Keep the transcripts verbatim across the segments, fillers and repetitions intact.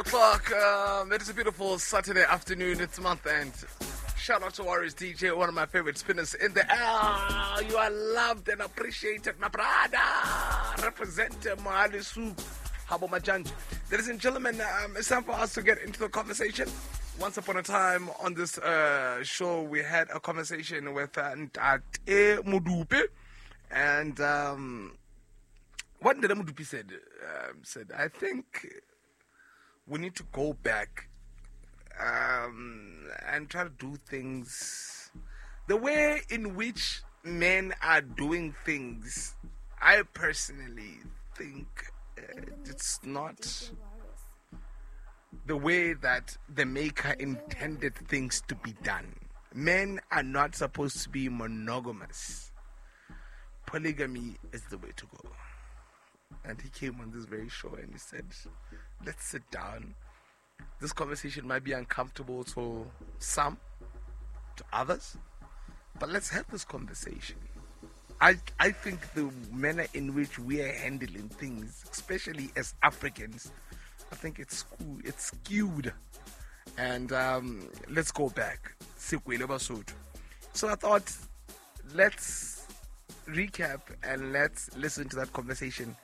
O'clock. Um, it is a beautiful Saturday afternoon. It's month end. Shout out to Warriors D J, one of my favorite spinners in the air. You are loved and appreciated, my brother. Represent Mohale Soup, Habo Majanja. Ladies and gentlemen, um, it's time for us to get into the conversation. Once upon a time on this uh, show, we had a conversation with uh, Ntate Modupe, and um, what Ntate Modupe said, um, said, I think we need to go back um, and try to do things the way in which men are doing things. I personally think uh, it's not the way that the maker intended things to be done. Men are not supposed to be monogamous. Polygamy is the way to go. And he came on this very show and he said, let's sit down. This conversation might be uncomfortable to some, to others, but let's have this conversation. I, I think the manner in which we are handling things, especially as Africans, I think it's skew, it's skewed. And um, let's go back. So I thought, let's recap and let's listen to that conversation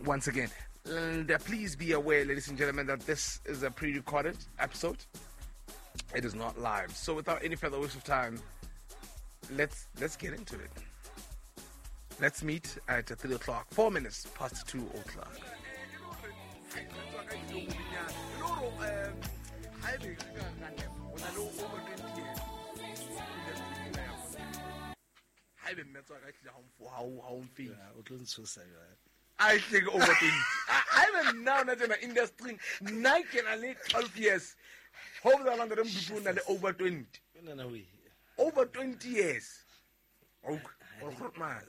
once again. And uh, please be aware, ladies and gentlemen, that this is a pre-recorded episode. It is not live. So without any further waste of time, let's let's get into it. Let's meet at three o'clock, four minutes past two o'clock. I think over twenty. I even now not in the industry. Nine can only twelve years. Hope that I'm going over twenty. Over twenty years. Oh,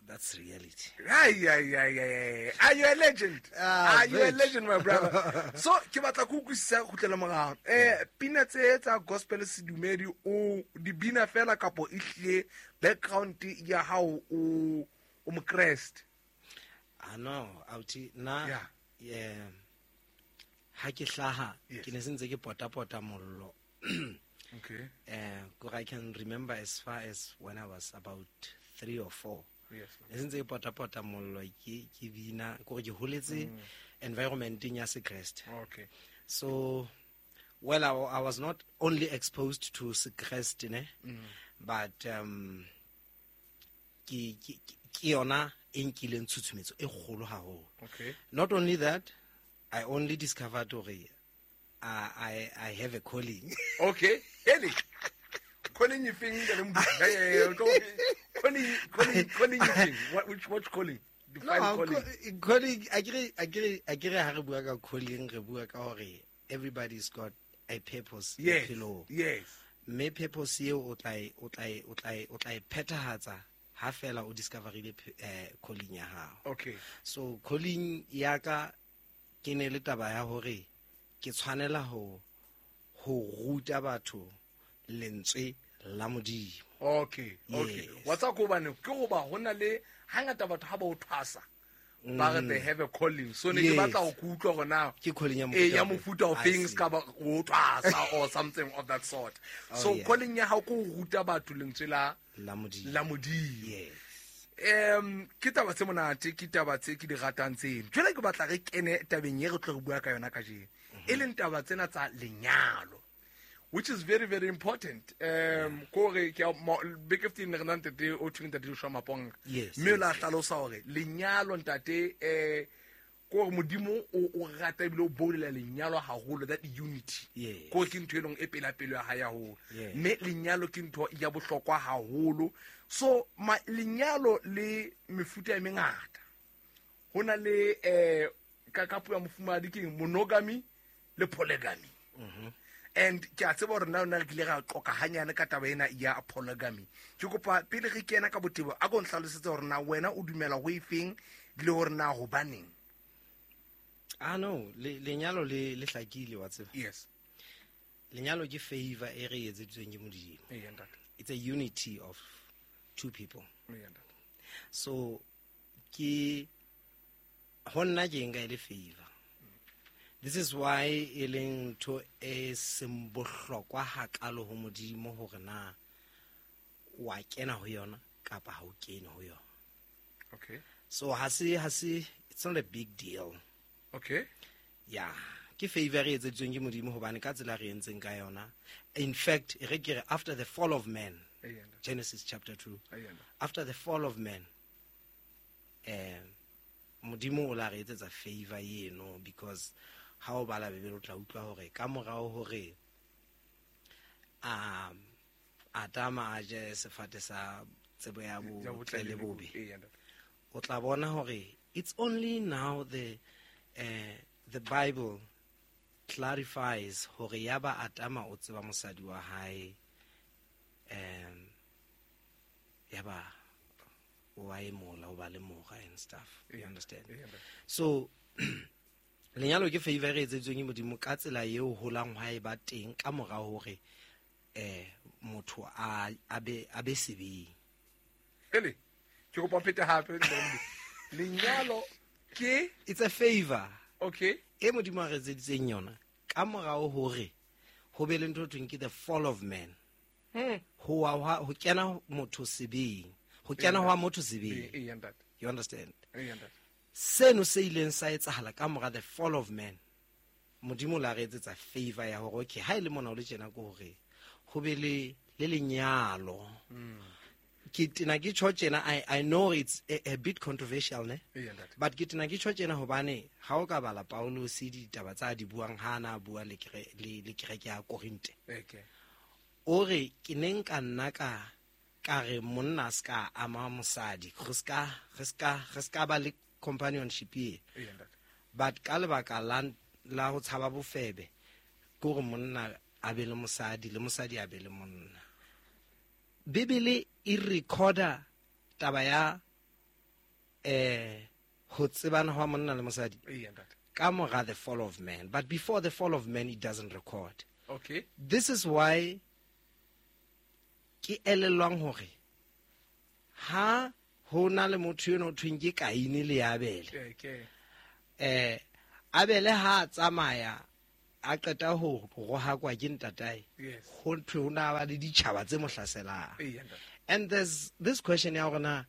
that's reality. Yeah, yeah, yeah, yeah. Are you a legend? Ah, Are you a legend, my brother? So, ke batla go utlwisisa go tlela morao. Eh, pina tse tsa gospel sedumedi o di bina fela kapo e hlile background ya hao o o mokreste. Ah no, auti na yeah. Yeah. Ha ke hlaha yes. Ke ne sentse ke pota pota mollo. Okay. Eh, uh, I can remember as far as when I was about three or four. Yes. Ne sentse ke pota pota mollo ke ke bina gore ke holetse environment ya sekreste. Okay. So well I, I was not only exposed to sekreste ne, mm. but um ke ke ke yona e nkileng tshutshumetso e kgolo haholo. Okay. Not only that, I only discovered hore I, I I have a calling. Okay. Eli. Calling you thing calling calling calling you thing. What which what calling? Define no, calling. Calling akere akere akere ha re bua ka calling re bua ka hore everybody's got a purpose. Yes. Bophelong. Yes. Mme purpose eo o tla e o tla e o tla e o tla e phethahatsa ha fela o discoverile eh calling ya hao. Okay. So calling ya ka ke ne le taba ya hore ke tshwanela ho ho ruta batho lentswe la Modimo. Okay, okay. Yes. What's up gobane ke goba hona le hangata batho ha ba o thwasa ba re they have a calling. So ne ke batla ho kutlwa hore na ke calling ya mofuta ya mofuta of things ka ba o thwasa or something of that sort. Oh, so yeah. Calling ya hao ke ho ruta batho lentswe la la Modimo. La Modimo. Yes. Um ke taba tse monate ke taba tse ke di ratang tseno. Jwale ke batla re kene tabeng e re tlo re bua ka yona kajeno. E leng taba tsena tsa lenyalo, which is very very important. Um kore ke beke fifteen re na ntate o thweng ntate Joshua Maponga. Mme la hlalosa hore lenyalo ntate eh kore Modimo o o rata ebile o bolela lenyalo haholo, that unity. Kore ke ntho e leng e pela pelo ya hae haholo. Mme lenyalo ke ntho ya bohlokwa haholo. So ma lenyalo le mefuta e mengata. Hona le eh ka ka puo ya mofumadi ke monogamy le polygamy. Mhm. And ke a tseba hore nna nna re kile ra qoka hanyane ka taba ena ya polygamy. Ke kopa pele re kena ka botebo a go nhlalosetse hore na wena o dumela ho efeng le hore na hobaneng. Ah no, le lenyalo le le hlakile wa tseba. Yes. Lenyalo ke favor e re etseditsweng ke Modimo. Eh ntate. It's a unity of two people. Eh ntate. So ke honna ke nka ile favor. This is why e leng ntho e seng bohlokwa hakalo ho Modimo hore na wa kena ho yona kapa ha o kene ho yona. Okay. So ha se ha se it's not a big deal. Okay. Yeah, ke favor e etseditsweng ke Modimo hobane ka tsela re entseng ka yona. In fact, e re ke re after the fall of man, Genesis chapter two. After the fall of man, eh Modimo o la re etsetsa favor eno, because ha o bala Bibele o tla utlwa hore ka morao hore a Adama a je sefate sa tsebo ya botle le bobe, o tla bona hore it's only now the uh, the Bible clarifies hore ya ba Adama o tseba mosadi wa hae, um ya ba o a emola o ba le mora and stuff, you understand? So lenyalo ke favor e etseditsweng ke Modimo ka tsela eo holang ha e ba teng ka mora hore eh motho a a be a be sebeng. Ele ke kopa phete hape lenyalo ke it's a favor. Okay. E Modimo a re etseditseng yona ka morao hore ho be le ntho thweng ke the fall of man. Hmm. Ho wa ho kena motho sebeng. Ho kena hwa motho sebeng. You understand? Seno se ileng sa etsahala ka mora the fall of man. Modimo la re etsetsa favor ya hore okay ha ile mona o le tjena ke hore ho be le le lenyalo. Ke tena ke tjho tjena, I I know it's a, a bit controversial ne, but ke tena ke tjho tjena hobane ha o ka bala Paulus ditaba tsa di buang ha na bua le le le kereke ya Korinthe. Okay. O re ke neng ka nna ka ka re monna ska ama mosadi, re ska re ska re ska ba le companionship e. But ka lebaka la la ho tshaba bofebe ke hore monna a be le mosadi le mosadi a be le monna. Bibele e recorda taba ya eh ho tsebana hwa monna le mosadi ka mora the fall of man, but before the fall of man it doesn't record. Okay. This is why ke elellwang hore ha ho na le motho eno thweng ke Kaine le Abele. Okay. Eh Abele ha tsamaya a qeta ho rohakwa ke ntatae, ho thwe ho na ba le ditjhaba tse mo hlaselang. And there's this question ya hore na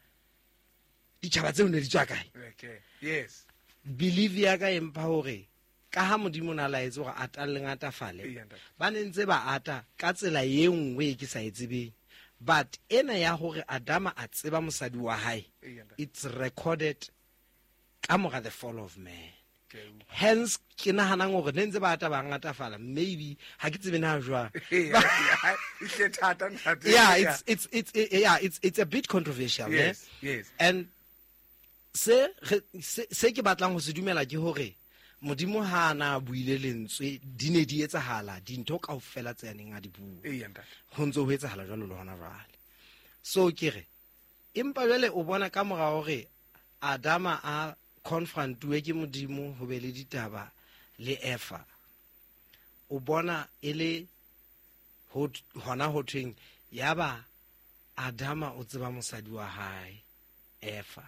ditjhaba tseo ne di tswa kae? Okay. Yes. Believe ya ka empa hore ka ha Modimo na laetse hore ata le ngatafale, ba ne ntse ba ata ka tsela e nngwe e ke sa e tsebeng. But ena ya hore Adama a tseba mosadi wa hae, it's recorded ka mora the fall of man. Hence ke nahanang hore ne ntse ba ata ba ngatafala, maybe ha ke tsebe na jwang. Yeah, it's it's it's yeah, it's it's a bit controversial. Yes, ne? Yes. And se se ke batlang ho se dumela ke hore Modimo ha na buile lentswe di ne di etsahala dintho kaofela tse neng a di bua. Ho ntse ho etsahala jwalo le hona jwale. So ke re empa jwale o bona ka mora hore Adama a confrontuwe ke Modimo ho be le ditaba le Eva, o bona e le ho hona ho thweng yaba Adama o tseba mosadi wa hae Eva,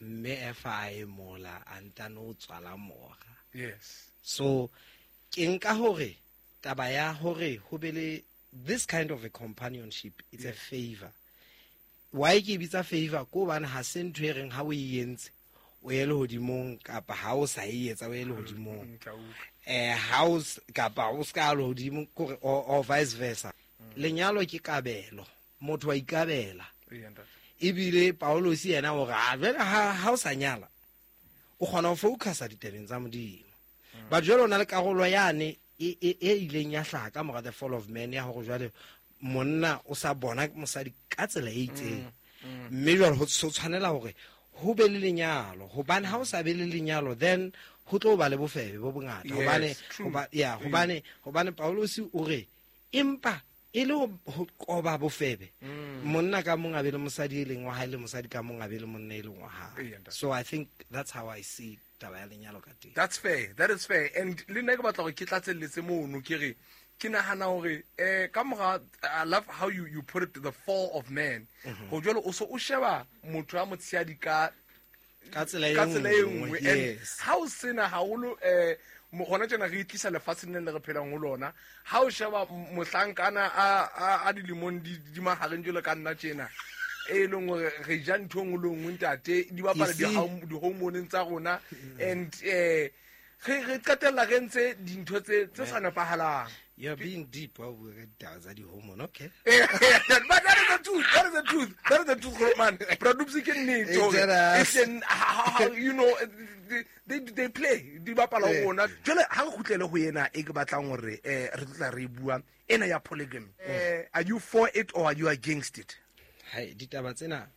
mme Eva a emola a ntano o tswala mora. Yes. So ke nka hore taba ya hore ho be le this kind of a companionship, it's yes. a favor. Why ke bitsa favor? Ko hobane ha se ntho e reng ha o e entse o ye lehodimong kapa ha o sa e etsa o ye lehodimong, eh ha o kapa o ska lehodimong kore or vice versa. Lenyalo ke kabelo, motho wa ikabela. Ebile Paulus yena o re a jwale ha o sa nyala o kgona ho focusa ditabeng tsa Modimo. But jwale o na le karolo yane e e ileng ya hlaha ka mora the fall of man ya hore jwale monna o sa bona mosadi ka tsela e itseng, mme jwale ho tshwanela hore ho be le lenyalo, hobane ha o sa be le lenyalo then ho tlo ba le bofebe bo bongata. Hobane ya hobane hobane Paulus o re empa e le ho qoba bofebe, monna ka mong a be le mosadi e leng wa hae le mosadi ka mong a be le monna e leng wa hae. So I think that's how I see taba ya lenyalo ka teng. That's fair, that is fair. And le nna ke batla hore ke tlatselletse mono, ke re ke nahana hore eh ka mora, I love how you you put it, the fall of man. Ho jwalo o so o sheba motho a motshehadi ka ka tsela e nngwe. And ha o sena haholo eh Mo- gona tjena re itlisa lefatsheng le le re phelang ho lona. Ha o sheba m- mohlankana a a- a dilemong di di mahareng jwalo ka nna tjena, e leng hore re ja ntho e nngwe le nngwe, ntate, di bapala You see? di- di-hormoneng tsa rona, and eh re re qetella re ntse dintho tse tse sa nepahalang. You're being deep ha o bua ka ditaba tsa di-hormone, okay. But that is the truth. That is the truth. That is the truth, man. Bra Dupsy, ke nnete It's hore just- e hleng, ha- ha- you know, they, they, they play, di bapala ho Eh. rona. Jwale ha re kgutlele ho ena e ke batlang hore eh re tlo tla re e bua, ena ya polygamy. Eh, are you for it or are you against it? Hai, ditaba tsena,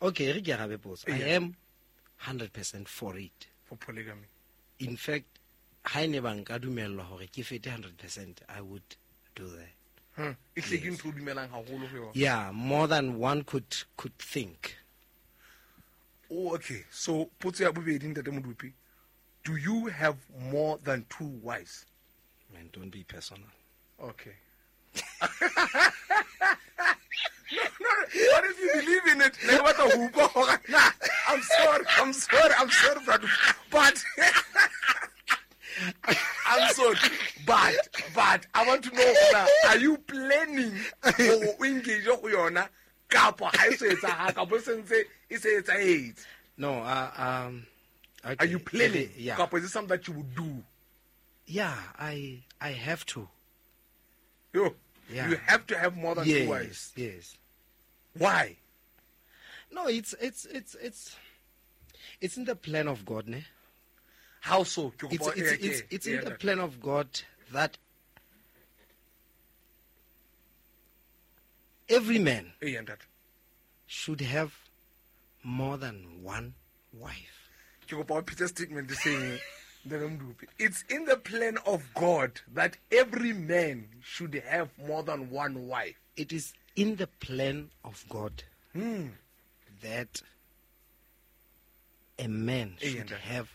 okay, re ke arabe potso. I Yeah. am one hundred percent for it. For polygamy. In fact, ha e ne ba nka dumellwa hore ke fete one hundred percent, I would do that. Hmm. E hle ke ntho o dumelang haholo ho yona. Yeah, more than one could could think. Oh, okay. So potso ya bobedi, ntate Modupi, do you have more than two wives? Man, don't be personal. Okay. no, no, what if you believe in it? Ne ke batla ho utlwa hore na. I'm sorry, I'm sorry, I'm sorry, brother. But I'm sorry. But but I want to know na, are you planning hore o engage ho yona kapa ha e so etsahala, kapa e sentse e se etsahetse? No, uh, um okay. Are you planning? Yeah. Kapa is it something that you would do? Yeah, I I have to. Yo, Yeah. you have to have more than two wives. Yes, yes. Why? No, it's it's it's it's it's in the plan of God, ne? How so? Ke It's kopa- it's eh, it's, ke- it's in eh, the plan of God that every man Eh, ntate. should have more than one wife. Ke kopa o phete statement seng, ntate Modupi. It's in the plan of God that every man should have more than one wife. It is in the plan of God Hmm. that a man Eh, should ntate. have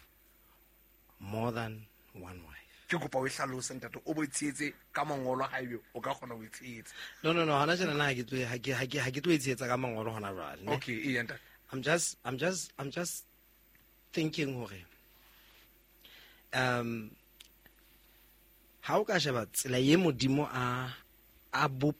more than one wife. Ke kopa o e hlalose, ntate, o bo e tshehetse ka mangolo ha ebe o ka kgona ho e tshehetsa. No, no, no, hona tjena na ha ke tlo ha ke ha ke ha ke tlo e tshehetsa ka mangolo hona jwale, ne? Okay, ee, ntate. I'm just I'm just I'm just thinking hore um ha o ka sheba tsela ye Modimo a a